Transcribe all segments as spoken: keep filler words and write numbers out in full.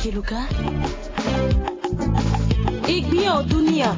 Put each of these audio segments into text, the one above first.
Keluka. Igbia o dunia.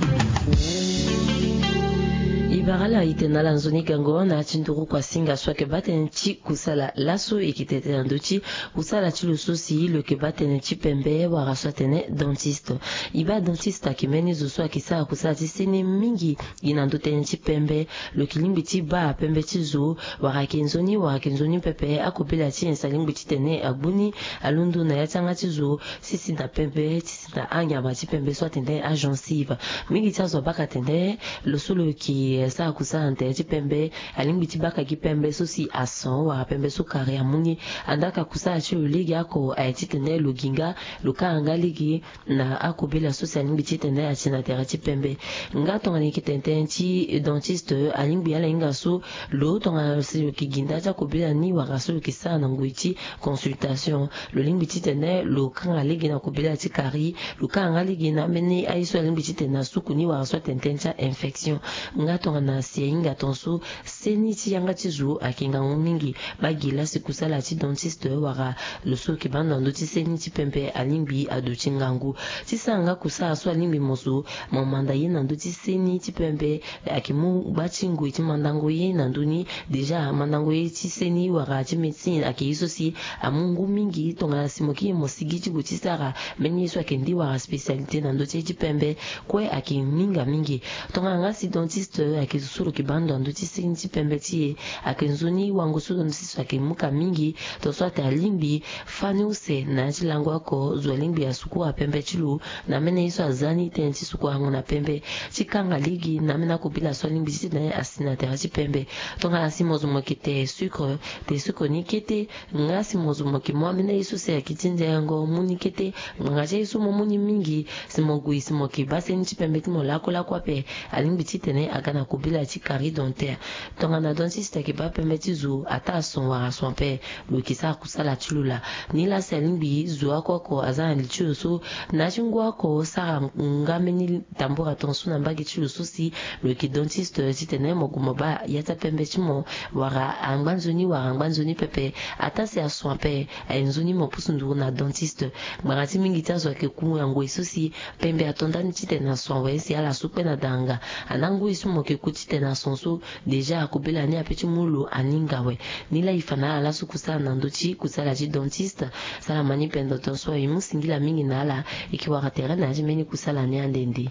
I bara ala ite na ala nzoni gango na ya ti nduru kua singa so ayeke baa tënë ti kusala laso. E yeke tene tënë na ndö ti kusala ti lo so si lo yeke baa tënë ti pembe wala so atene dentiste. E baa dentiste ayeke mbeni zo so ayeke sara kusala ti seni mingi gi na ndö tënë ti pembe. Lo yeke lingbi ti baa pembe ti zo wala ayeke nzoni wala ayeke nzoni pepe, akobela ti nyen si alingbi titene agbu ni alondo na ya ti yanga ti zo, si si na pembe ti si na anyama ti pembe so atene agencive. Mingi ti azo abaka atene lo so lo yeke sara kusala na tere ti pembe alingbi ti baka gi pembe so si ason wala pembe so kari amu ni. Andaa ka kusala ti lo lege oko aye titene lo gi nga, lo kanga nga lege na akobela so si alingbi titene ati na tere ti pembe. Nga tongana e yeke tene tënë ti dentiste, alingbi ala hinga so lo tongana si lo yeke gi nda ti akobela ni wala so lo yeke sara na ngoi ti consultation, lo lingbi titene lo kanga lege na kobela ti kari, lo kanga nga lege na ambeni aye so alingbi titene asuku ni wala so atene tënë ti ainfection. Nga tongana si ahinga tongaso seni ti yanga ti zo ayeke ngangu mingi, baa gi la si kusala ti dentiste wala lo so lo yeke baa ndo na ndö ti seni ti pembe alingbi aduti ngangu. Ti sara nga kusala so alingbi mo zo mo manda ye na ndö ti seni ti pembe, ayeke mu gba ti ngoi ti mandango ye na ndö ni. Déjà mandango ye ti seni wala ti médecine ayeke ye so si amu ngu mingi. Tongana si mo kiri mo sigi ti gue ti sara mbeni ye so ayeke nde wala spécialité na ndö ti ye ti pembe, kue ayeke minga mingi. Tongana nga si dentiste ayeke zo so lo yeke baa ndo na ndö ti seni ti pembe ti e, ayeke nzoni wango so dentiste ayeke mu ka mingi. Tongaso atene alingbi fani use na ya ti lango oko, zo alingbi asukura pembe ti lo na ambeni ye so aza ni tënë ti sukura yango na pembe, ti kanga lege na ambeni akobela so alingbi titene asi na tere ti pembe. Tongana si mo zo mo yeke te sucre, te sucre ni kete. Nga si mo zo mo yeke mu ambeni aye so si ayeke ti nzengo mu ni kete. Ngbanga ti aye so mo mu ni mingi, si mo gue si mo yeke baa seni ti pembe ti mo lakue lakue ape, alingbi titene aga na kobela ti carie dentaire. Tongana dentiste ayeke baa pembe ti zo, ataa son wala son ape, lo yeke sara kusala ti lo laa. Nilaa si alingbi zo oko oko aza na li ti lo so na ya ti ngu oko sara nga mbeni tambura tongaso na mbage ti lo so si lo yeke dentiste titene mo gue mo baa ya ti apembe ti mo, wala angba nzoni wala angba nzoni pepe. Ataa si ason ape, aye nzoni mo pusu nduru na dentiste. Ngbanga ti mingi ti azo ayeke ku na ngoi so si pembe ato ndani titene ason awe si ala so kpe na danga. Andaa ngoi so mo yeke ku titene ason so, déjà akobela ni ape ti mu lo aninga awe. Nilaa e fa na ala laso kusala na ndö ti kusala ti dentiste. Salama ni pendoro tongaso, e mu singila mingi na ala. E yeke wara tere na ya ti mbeni kusala ni ande nde.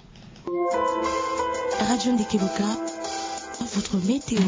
Radio Ndeke Loka, votre météo.